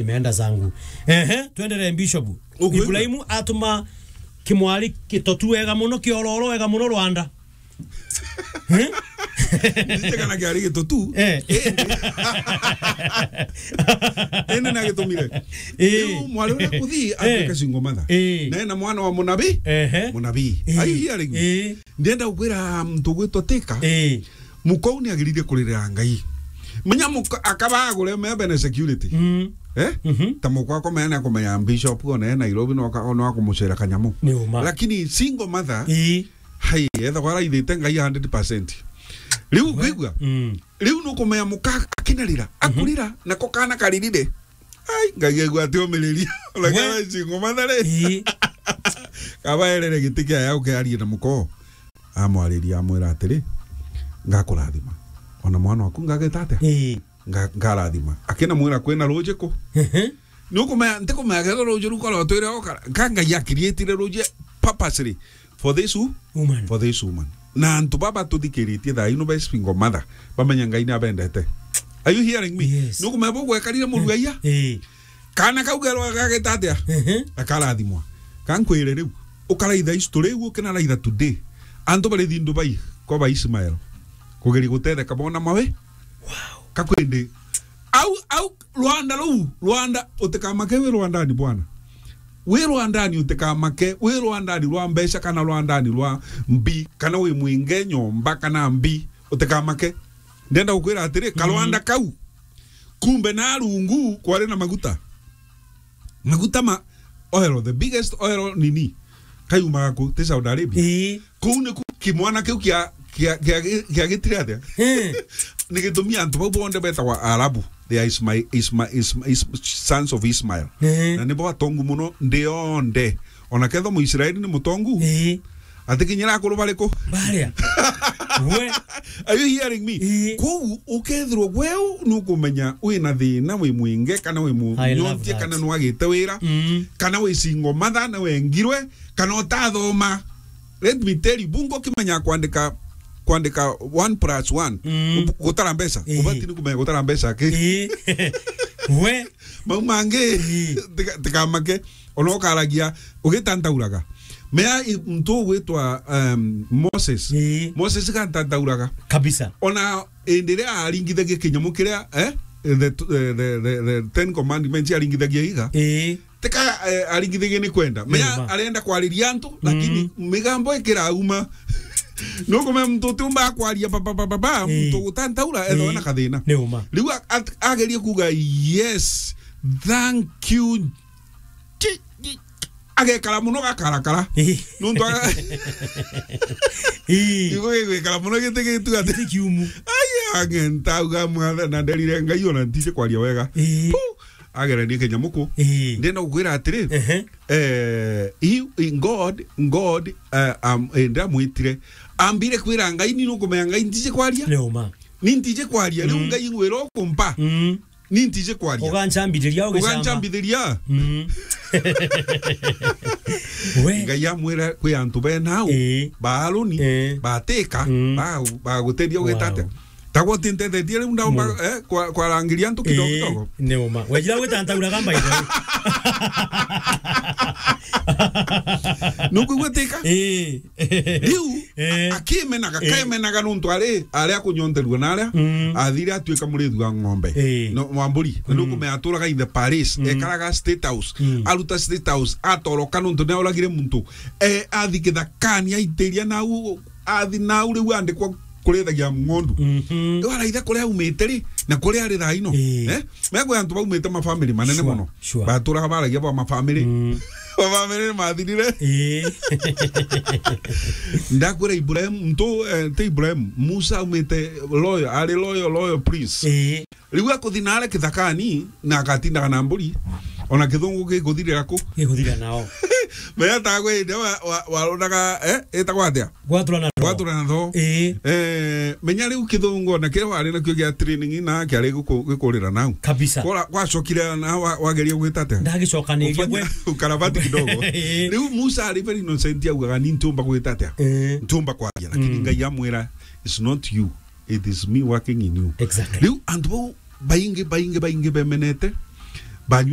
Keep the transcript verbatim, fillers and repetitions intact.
Nimeenda zangu. Ehe, tuendelee, Bishop. Ukwigua? Ibrahimu atuma kimwari gitotu wega muno, kiororo wega muno Rwanda. Eh? Ndije kana kiari gitotu. Eh. Indi. Indi nagitumire. Eh. Riu mwari uria kuthii, eh, atuika single mother. Eh. Na ena mwana wa munabii. Ehe. Munabii. Eh. Ai, hiari. Eh. Ndienda gukwira muntu ugwitwa Tika. Eh. Muka uu ni agiririe kuririra Ngai. Menya muka akaba agure mebe na security. Mm. Eh? Mhm. Ta mukwa akomenya ni akomenya bishop ona e Nairobi no aka-, no akumucera kanyamu. Ni uma. Lakini single mother, ii, hai, ethagwa araithite Ngai a hundred percent. Riu, we, kwigua? Mm. Riu nukumenya muka akinarira, mhm, akurira, nako kana karirire. Ai, Ngai aigua ati umiriria. Ona we, kana single mother ri. Ii. Kaba erere giti kia yau kiarie na muko. Amwariria, amwira atiri, "Ngakurathima. Ona mwana waku ngageta atia? Ii. Nga-, ngarathima." Akina mwira, "Kwina ruuji ku?" Ehe. Ni ukumenya, ntikumenya kethira ruuji ru koro twire okara. Ka Ngai akirietire ruuji purposely for this wo-, woman. For this woman. Na antu baba tuthikiritie thaa ino be single mother, bamenya Ngai ni abendete. Are you hearing me? Yes. Ni ukumenya bo gwekarire murugaia? Eh. Kana kau kerwa gageta atia? Ehe. Akarathimwa. Ka nkwire riu, ukaraitha history iu, ukinaraitha today. Antu bari thindu bai kwa ba Ismael. Kugeri gutetheka bona mawe. Wow. Kakwende. Au, au, Rwanda ruu, Rwanda, utikamake wi Rwandani bwana. Wi Rwandani utikamake, wi Rwandani rwa mbeca kana Rwandani rwa mbi, kana wi mwinge nyomba kana mbi, utikamake. Ndenda gukwira atiri, ka, mm, Rwanda kau, kumbe na rungu kwari na maguta. Maguta ma oil, the biggest oil nini, kayumaga ku, ti Saudi Arabia? Ii. Kuu niku kimwana kiu kia, kia, kia, kia gitire atia? Ii. Ni gitumi antu bau bonthe betagwa Arabu. They are Isma-, Isma-, Isma-, Is-, sons of Ismail. Ii. Na nibo atongu muno nthi yonthe. Ona kethwa Muisraeli ni mutongu, ii, atikinyira akuru bariku? Baria. We. Are you hearing me? Ii. Kwou ukethirwa gweu nukumenya wina thina, wi mwinge, kana wi, I love munyontie, that, kana nwagite wira, mm, kana wi single mother, na wengirwe, kana utathoma. Let me tell you, bungu ukimenya kwandika, kwandika one plus one, mm, ub-, gutara mbeca. Ii. Ubati ni kumenya gutara mbeca ki? Ii. We. Mau mangi, ii, tika-, tikamake. Ona ukaragia, ugitantauraga. Mea i-, muntu ugwitwa, um, Moses. Ii. Moses gantantauraga. Kabisa. Ona indi iria aringithagia kinyamu kiria, eh? The, the, the, the, the Ten Commandments aringithagia iga. Ii. Tika, eh, aringithagia ni kwenda. Mea, ni ma, arenda kwariria antu, lakini, mm, migambo ikirauma. Nukumenya muntu utiumba kwaria pa, pa, pa, pa, pa, ii, muntu gutantaura, ethwa, ii, na kathina. Ni uma. Riu a-, at-, agerie kuga, "Yes, thank you." Chi-, chi-, agekara muno gakarakara. Ii. Nuntu aga-, ii, igo gigwikara muno giti gitu ati. Giti kiumu. Ai, agenta uga mwatha na nderire Ngai ona ntije kwaria wega. Ii. Pu, agerania kinyamuku. Ii. Ndenda gukwira atiri, ehe, eh, he, he, God, God, eh, am-, eh, ndamwitire. Ambire kwira Ngai, ni nukumenya Ngai ntije kwaria? Ni uma. Ni ntije kwaria, riu, mm, Ngai ngwira ukumpa. Mm. Ni ntije kwaria. Ugancambithiria, ugancamba. Ugancambithiria. Mm. We. Ngai amwira kwi antu benau, ii, ba Aroni, ii, ba Tika, mm, ba, baguteithia ugita atia? Wow. Tagwo ti ntethetie riu ndaumba, mm, eh, kwa, kwarangiria antu kidogo, ii, kidogo. Ni uma. Wejira gwitantauraga mbaitha. Nukwigua Tika? Ii. Riu, eh, a-, akimenaga, eh, kaimenaga nuntu ari, ari akunyonterua na aria, mm, athire atuika murithi wa ng'ombe. Eh. No, wa mburi. Na, mm, nukumenya aturaga in the palace, mm, ekaraga State House, mm, aruta State House, atoroka nuntu ni auragire muntu. Eh, athi kithakani, aitiria nau, athi nau riu andikwa kurithagia ng'ondu. Mhm. Riu araitha kuria aumite ri, na kuria ari thaa ino. Eh. Eh? Mekwe antu baumite mafamily manene, sure, muno. Sure. Baturaga baragia ba mafamily. Mm. Mafamily ni mathirire. Ii. Ndakwira Ibrahim, mtu, eh, ti Ibrahim, Musa aumite loyal, ari loyal, loyal prince. Ii. Riu akuthi nare kithakani, na agatindaga na mburi, ona kithungu gikuthirira ku? Gikuthirira nao. Menya ta gwe inde wa, wa, waronaga, eh, itagwa atia? Gwatura na thoo. Gwatura na thoo. Ii. Eh, menya riu kithungu ona kiria wari nakio gia training na kiari guku-, gikurira nau. Kabisa. Kora, gwacokire na wa-, wageria gwita atia? Ndagicokaniria. Ufanya gwe ukarabati kidogo. Ii. Riu Musa ari very innocent, augaga, "Ni ntiumba gwita atia? Ii. Ntiumba kwaria." Lakini, mm, Ngai amwira, "It's not you. It is me working in you." Exactly. Riu antu bau baingi, baingi, baingi bemenete, Banywi